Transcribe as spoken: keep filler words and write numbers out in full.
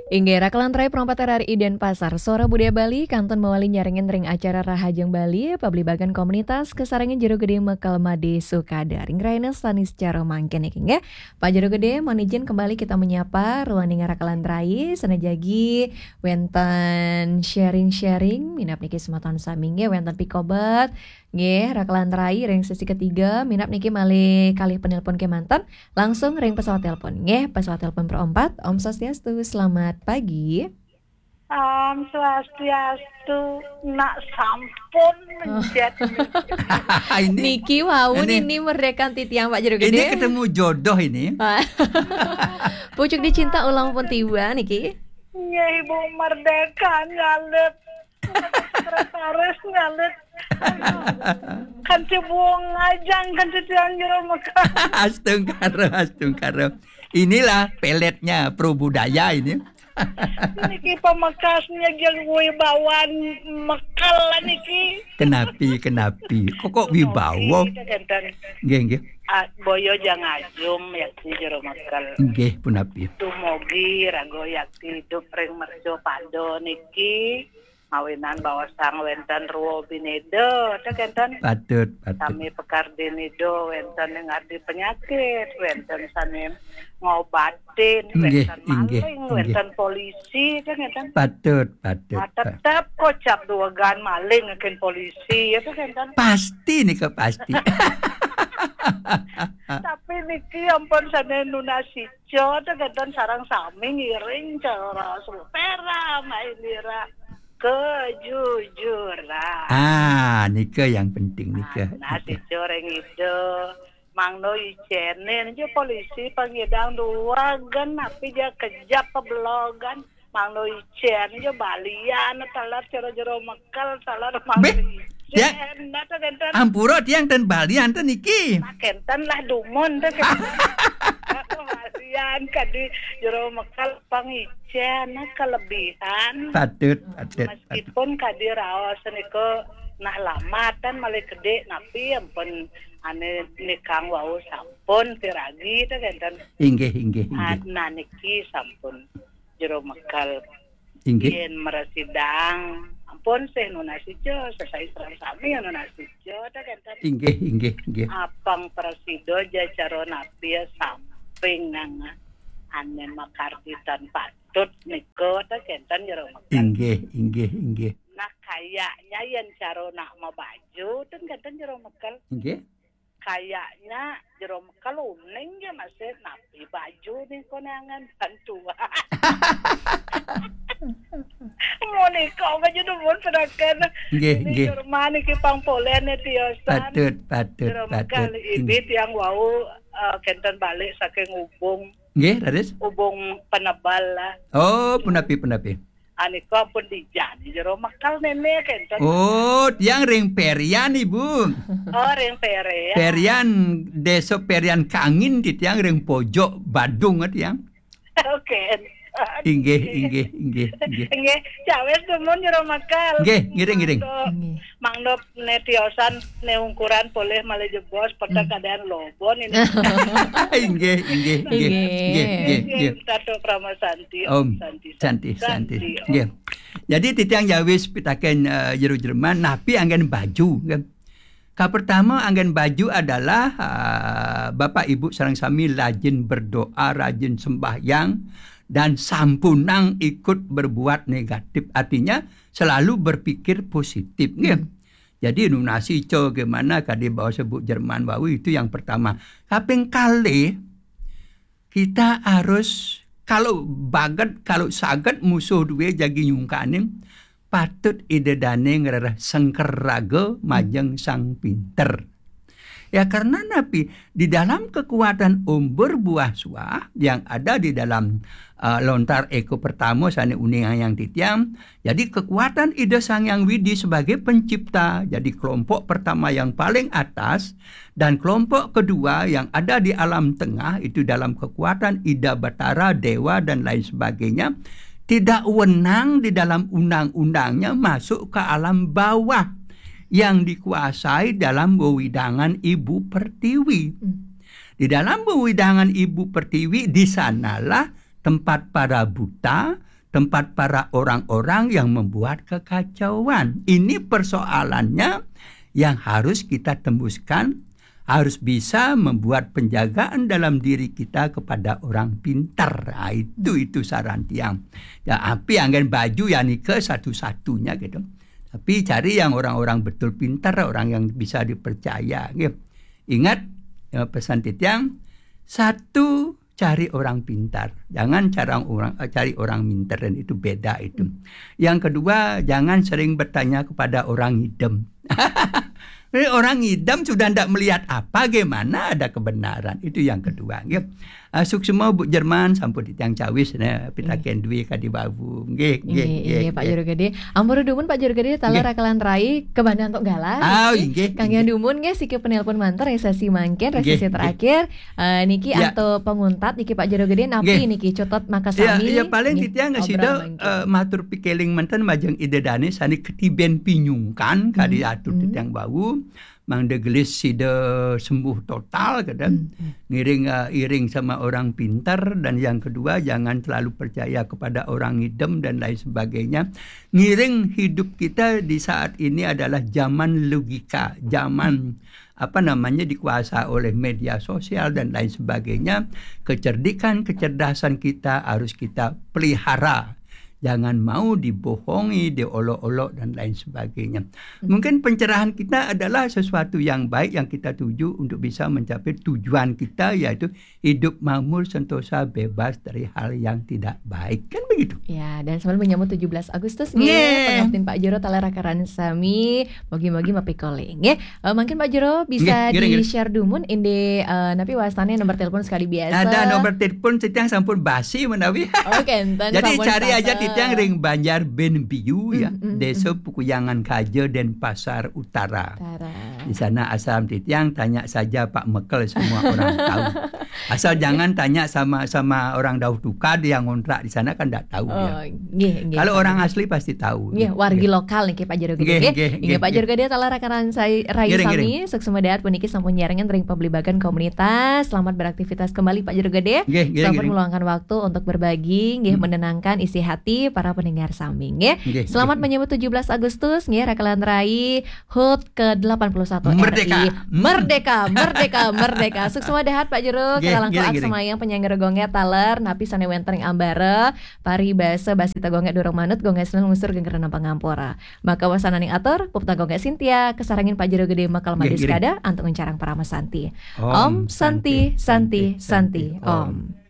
Inggih, rakelan rai perempat R R I Denpasar, Suara Budaya Bali, kantun mawali nyarengin ring acara Rahajeng Bali, pabligbagan komunitas, kasarengin Jero Gede Mekel Made Sukada, ring rahina sanis cara mangkin niki, nggih. Pak Jero Gede, mohon izin kembali kita menyapa ruaning rakelan rai, sane jagi wenten sharing-sharing, minab niki semeton sami, nggih, wenten pikobet, nggih, rakelan rai ring sesi ketiga, minab niki malih kalih penelpon kemanten, langsung ring pesawat telepon, nggih, pesawat telepon perempat, Om Swastiastu, selamat pagi. Om Swastiastu, nak sampun mencet. Ini, Niki wau ini, nini merdekan titiang Pak Jero ini Gede. Ketemu jodoh ini. Pucuk dicinta ulang pun tiba niki. Nggih, Ibu Merdeka nyalit. Sekretaris nyalit. Kan cebung ajang kan titiang Jero Mekel. Astungkara, astungkara. Inilah peletnya Pro Budaya ini. Niki pamekasnya jeng wibawan Mekel niki. Kenapi, kenapi. Kok, kok wibawa? Kita kenten. Nggih, nggih. Ah, boyo jang ajum yakti Jero Mekel. Nggih, punapi. Dumugi raga yakti idup ring mercapada niki. Mawinan baosang wenten rwa bineda, ta kenten. Patut, patut. Sami pekardinida wenten ing ardi penyakit, wenten sami ngobatin, Inggih, wenten inggih, maling, inggih. Wenten polisi, ta kenten. Patut, patut. Nah, Patut. tetep kocap duwegan maling ngekin polisi, ya ta kenten. Pasti nika pasti. Tapi niki ampun sane nunas ica, ta kenten, sareng sami ngiring cara supera mainira kejujuran. Ah, nika yang penting nika. Nah, sica ring ida. Mangda icene niki polisi pangidang duwegan, napi ja kejap pebelogan. Mangda icen ja balian, taler cara Jero Mekel, taler mangda Beh, ya. Icen, nah, ta kenten. Ampura tiang ten balian ten niki. Nah, kenten lah dumun, ta kenten. Balian kadi Jero Mekel pang icen, nah, kelebihan. Patut, patut, patut. Meskipun kadi raos nika nah lamatan malih gede, napi ampun ane nikang wau sampun piragi, ta kenten. Inggih, inggih, Ah, inggih. nah, niki sampun Jero Mekel. Inggih. Yen mresidang, ampun sih nunas ica, sesai sareng sami nunas ica, ta kenten. Inggih, inggih, inggih. Apang prasida ja cara napi samping nang ane makarditan patut nika, ta kenten, Jero Mekel. Inggih, inggih, inggih. Nah, kayaknya yen cara nak mabaju, ten kenten, Jero Mekel. Inggih. Kayaknya Jero Mekel uning ya masih napi baju nih konangan bantuan. Monika aja dumun pedakan. Nggih, Ini nggih. Jerman iki pang polene tiosan. Patut, patut, Jero patut. Mekel, ibi tiang wau, eh, kenten balik saking Ubung, Nggih, raris. Ubung Penebal lah. Oh, punapi, punapi. Anika pun dijani Jero Mekel nene kenten. Oh, tiang ring Perian, Ibu. Oh, ring Pere ya. Perian, Desa Perian Kangin, titiang ring pojok Badung, tiang. Oke. Inggih, inggih, inggih, inggih. Nggih, cawes dumun Jero Mekel. Nggih, ngiring, ngiring. Mangdo, Nggih. mangdo ne tiosan ne ungkuran polih malih jebos peta keadaan lobon ini. Inggih, inggih, inggih. Inggih. Inggih, inggih, inggih. Tato Parama Santi, Om Santi, Santi, Santi. Om. Nggih. Jadi titiang jawis pitaken, eh, Jero Jerman, napi anggen baju, kan? Kapertama, anggen baju adalah, eh, Bapak Ibu sareng sami rajin berdoa, rajin sembahyang, dan sampunang ikut berbuat negatif. Artinya, selalu berpikir positif, nggih. Jadi, nunas ica gimana kadi bahasa Bu Jerman wau, itu yang pertama. Kaping kalih, kita harus, kalau baget, kalau saget musuh duwe jagi nyungkanin, patut ida dane ngrereh sengker raga majeng sang pinter. Ya, karena napi? Di dalam kekuatan umbur buah suah yang ada di dalam, eh, lontar eko pertama sane uning yang titiang, jadi kekuatan Ida Sang Hyang Widi sebagai pencipta. Jadi kelompok pertama yang paling atas dan kelompok kedua yang ada di alam tengah itu dalam kekuatan Ida Batara, Dewa dan lain sebagainya, tidak wenang di dalam undang-undangnya masuk ke alam bawah yang dikuasai dalam wewidangan Ibu Pertiwi. Hmm. Di dalam wewidangan Ibu Pertiwi, di sanalah tempat para buta, tempat para orang-orang yang membuat kekacauan. Ini persoalannya yang harus kita tembuskan, harus bisa membuat penjagaan dalam diri kita kepada orang pintar. Ah, itu itu saran tiang. Ya, api angin baju ya nika satu-satunya gitu. Tapi cari yang orang-orang betul pintar, orang yang bisa dipercaya. Gitu. Ingat ya, pesan titiang, satu, cari orang pintar. Jangan cara orang eh, cari orang minter, dan itu beda itu. Yang kedua, jangan sering bertanya kepada orang idem. Ini orang idem sudah tidak melihat apa, gimana ada kebenaran. Itu yang kedua. Nggih. Ah, suksma Bu Jerman sampun titiang cawis nah pitaken dwi kadi wau. Nggih, nggih, nggih, nggih, Pak nggih. Juru Gede. Ampura dumun Pak Juru Gede, taler Nggih. Rakalan rai kebanda untuk galah. Ah, nggih, nggih, Kang nggih. Yang dumun nggih siki penelpon manter ya sesi mangkin, Nggih, sesi nggih. Terakhir. Eh, niki Ya. Anto penguntat niki Pak Juru Gede napi Nggih. Niki cutot maka Ya, sami. Ya paling Nggih. Titiang ngasida Obrolan mangkin. Eh, matur pikeling menten majeng Ida Dane sane ketiben pinyungkan kali Hmm, atur hmm. Titiang wau. Mangda gelis sida sembuh total kadang Hmm, hmm. Ngiring eh, iring sama orang pintar, dan yang kedua jangan terlalu percaya kepada orang idem dan lain sebagainya. Ngiring hidup kita di saat ini adalah zaman logika, zaman apa namanya dikuasai oleh media sosial dan lain sebagainya. Kecerdikan, kecerdasan kita harus kita pelihara. Jangan mau dibohongi, diolok-olok dan lain sebagainya. Hmm. Mungkin pencerahan kita adalah sesuatu yang baik yang kita tuju untuk bisa mencapai tujuan kita, yaitu hidup makmur, sentosa, bebas dari hal yang tidak baik. Kan begitu? Ya, dan sambil menyambut tujuh belas Agustus nih, Nggih. Pangaptin Pak Juru taler rakaran sami, mogi-mogi mapikole nggih. Eh, mungkin Pak Juru bisa Nggih, nggih, nggih. Di-share dumun inde eh, napi wastane nomor telepon sekali biasa. Ada nomor telepon titiang sampun basi menawi. Oke, enten Jadi sampun cari aja sasa. Titiang ring Banjar Ben Biu ya, Hmm, hmm, Desa hmm. Pukuyangan Kaja, Denpasar Utara. Utara. Di sana asal titiang tanya saja Pak Mekel, semua orang tahu. Asal Nggih. Jangan tanya sama sama orang Dauh Tukad yang ngontrak di sana kan ndak tahu Oh, dia. Nggih, nggih, Kalau Pak orang Juru. Asli pasti tahu. Nggih, wargi Nggih. Lokal niki Pak Juru Gede Nggih, nggih. Nggih, nggih, Pak Juru Gede taler rakaran sai rai Ngiring, sami, ngiring. Suksma dahat puniki sampun nyarengan ring pabligbagan komunitas. Selamat beraktivitas kembali Pak Juru Gede. Nggih, ngiring, Sampun ngiring. Meluangkan waktu untuk berbagi, nggih Hmm. Menenangkan isi hati para pendengar sami nggih. Nggih, Selamat nggih. Menyambut tujuh belas Agustus nggih, rakalan rai HUT ke delapan puluh satu Merdeka. R I. Merdeka, merdeka, merdeka. Suksma dahat Pak Juru, Nggih, kalangkung ngiring, ngiring. Aksamayang penyanggara gongge taler, napi sane wenten ring ambara, paribasa basita gongge durung manut, gongge senen lungsur geng rena pangampura. Maka wasananing atur, pupta gongge Sintia, kasarengin Pak Juru Gede Makal Nggih, Madis ngiring. Kada, antuk nguncarang parama santi. Om Santi, Santi, Santi, Om.